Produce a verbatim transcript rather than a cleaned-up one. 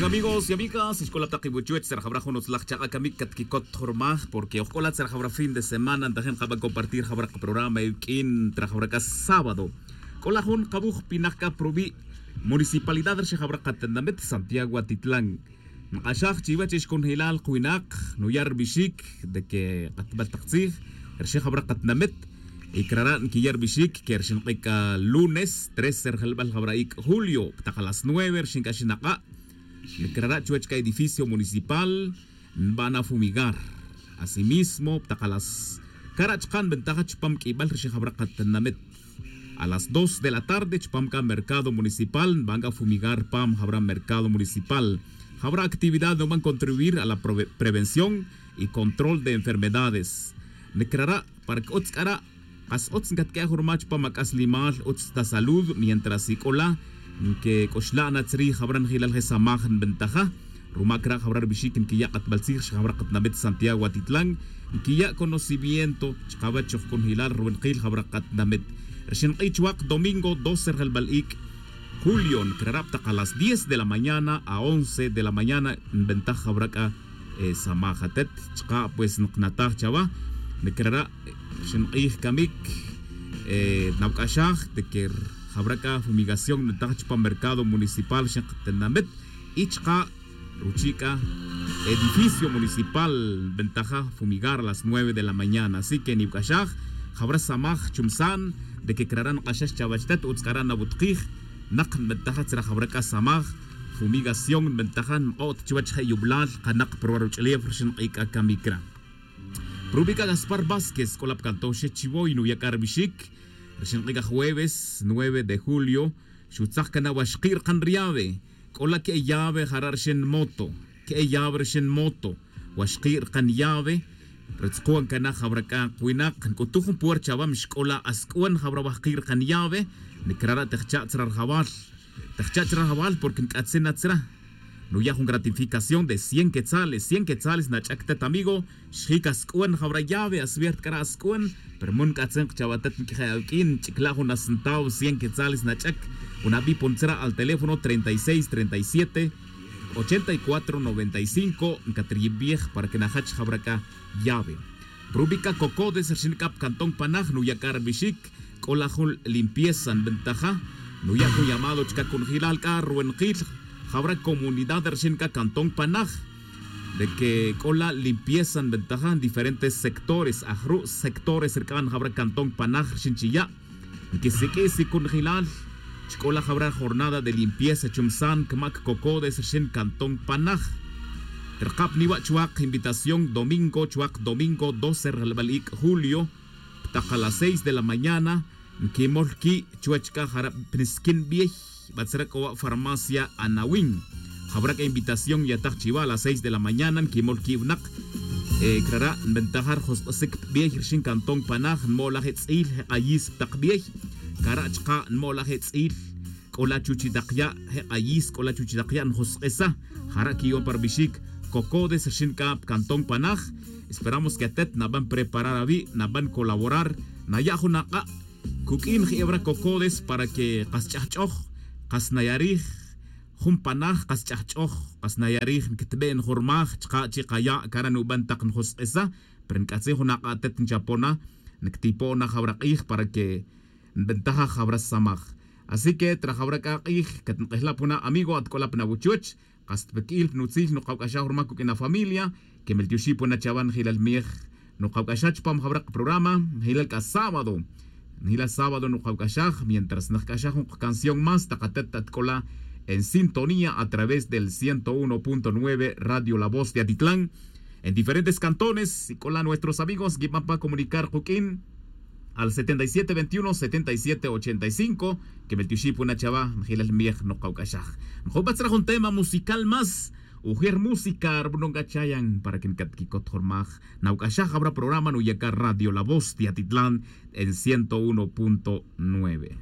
Amigos y amigas, xc'ola tak iwuchuech tzra jawra jun utzlaj chak'a' camic catquicot jurmaj porque ojc'ola tzra jawra fin de semana ntajin kaba compartir jawra kaprograma iwq'uin tzra jawra c'a sábado. C'ola jun kawuj pinak c'a pruwi' municipalidad rixin jawra katinamit santiago atitlan. Nk'axaj chiwech ixconjelal kuwinak nuya' rubixic de que katbal tak tzij rixin jawra katinamit. Y crara' nquiya' rubixic que rixin k'e c'a lunes trece rjelbal jawra ic' julio ptak a las nueve rixin c'a xinak'a'. Crara' chuwech c'a edificio municipal nbana fumigar. Asimismo ptak a las cara' chka' nbentaja chupam q'uibal rixin jawra katinamit. A las dos de la tarde chupam c'a mercado municipal nban c'a fumigar pam jawra mercado municipal. Jawra actividad nuban contribuir a la prevención y control de enfermedades. Nicrara' para c'utz c'ara' kas utz ncatq'ue'aj ruma chupam ac'aslimal utz ta salud mientras ic'ola nquec'uxla' na tzrij jawra njilal je samaj nbentaja. Ruma cra' jawra rubixic nquiya' katbal tzij rixin jawra katinamit santiago atitlan nquiya' conocimiento chkawech chujc'unjelal ruwinakil jawra katinamit. Rixin k'ij chuwak domingo doce rjelbal ic' julio nicrara' ptak a las diez de la mañana a once de la mañana nbentaja jawra c'a samaj atet. Chka' pues nknataj chawa nicrara' rixin k'ij camic nawc'axaj de que jawra c'a fumigación nbentaja chupam mercado municipal rixin katinamit. Y chka' ruchi' c'a edificio municipal nbentaja fumigar a las nueve de la mañana así que niwc'axaj jawra samaj chumsan de que crara' nk'axax chawech tet utz c'ara' nawutkij. Nak nbentaja tzra jawra c'a samaj fumigación nbentaja nk'o't chuwech je' yublal kanak pruwa ruch'ulef rixin k'ij c'a camic cra'. Prubi' c'a gaspar vásquez c'ola pcantón xe chivoy nuya' c'a rubixic rixin k'ij c'a jueves nueve de julio xutzaj cana waxki' rkan riave. C'ola que'e llave jara' rixin moto que'e llave rixin moto. Waxki' rkan llave. Rutzkuan cana jawra c'a kuwinak nc'utuj jun puercha awam xc'ola asc'uan jawra waxki' rkan llave. Nicrara' tejcha' tzra rjawal tejcha' tzra rjawal porque nc'atzin na tzra. Nuya' jun gratificación de cien quetzales cien quetzales nach'ac tet amigo. Xjic asc'uan jawra llave aswiert c'ara' asc'uan. Pero mun nc'atzin kchawa tet nq'uije' awq'uin nch'icla' jun asentaw cien quetzales nach'ac. Jun abipon tzra' al teléfono treinta y seis treinta y siete ochenta y cuatro noventa y cinco ncatriyibij para que najach jawra c'a llave. Prubi' c'a cocodes rixin c'a pcantón panaj nuya' c'a rubixic c'ola jun limpieza nbentaja. Nuya' jun llamado chca cunjelal c'a ruwenakil jawra comunidad rixin c'a cantón panaj de que c'ola limpieza nbentaja diferentes sectores ajru' sectores rc'an jawra cantón panaj rixin chiya'. Nquisiq'ui' sicunjelal chc'ola jawra jornada de limpieza chumsan cmac cocodes rixin cantón panaj. Rkab niwa' chuwak invitación domingo chuwak domingo doce rjelbal ic' julio ptak a las seis de la mañana. Nquimol qui' chuwech c'a jara' pnisquin biey. Batzra c'o wa' farmacia anawin jawra c'a invitación yataj chiwa a las seis de la mañana nquimol qui' winak. Crara' nbentaja rjosk'esic pa biey rixin cantón panaj nmo'laj e tz'il je k'ayis pa tak biey. Cara' chka' nmo'laj e tz'il c'ola chuch i tak ya' je k'ayis c'ola chuch i tak ya' njosk'esa. Jara' quiyo'on pa rubixic cocodes rixin c'a pa cantón panaj. Esperamos que atet naban preparar awi' naban colaborar naya' jun ak'a' cuq'uin je' ewra cocodes para que kas ch'ajch'oj kas nayarij jun panaj kas ch'ajch'oj kas nayarij nctbe' njurmaj chka' chi kaya' cara' nuban tak njosk'esa. Pero nc'atzin jun ak'a' atet nchapona nctipo'on na jawra k'ij para que nbentaja jawra samaj. Así que tra jawra c'a k'ij catnk'ejla' puna amigo at c'ola pna wuchuch. Kas tpqui'il pnutzil nukawc'axaj ruma cuq'uin afamilia. Quemeltioxi' puna chawa njilal miej nukawc'axaj chupam jawra kaprograma. Njilal c'a sábado njilal sábado nukawc'axaj mientras nujc'axaj jun kacanción más tak atet at c'ola en sintonía a través del ciento uno punto nueve radio la voz de atitlan. En diferentes cantones y c'ola nuestros amigos nquiban pa comunicar kuq'uin al setenta y siete veintiuno setenta y siete ochenta y cinco. Quemeltioxi' puna chawa njilal miej nukawc'axaj. Njubat tzra jun tema musical más ujer música rubunon c'a chayan para que ncatquicot jurmaj. Nawc'axaj jawra programa nuyaca radio la voz de atitlan en ciento uno punto nueve.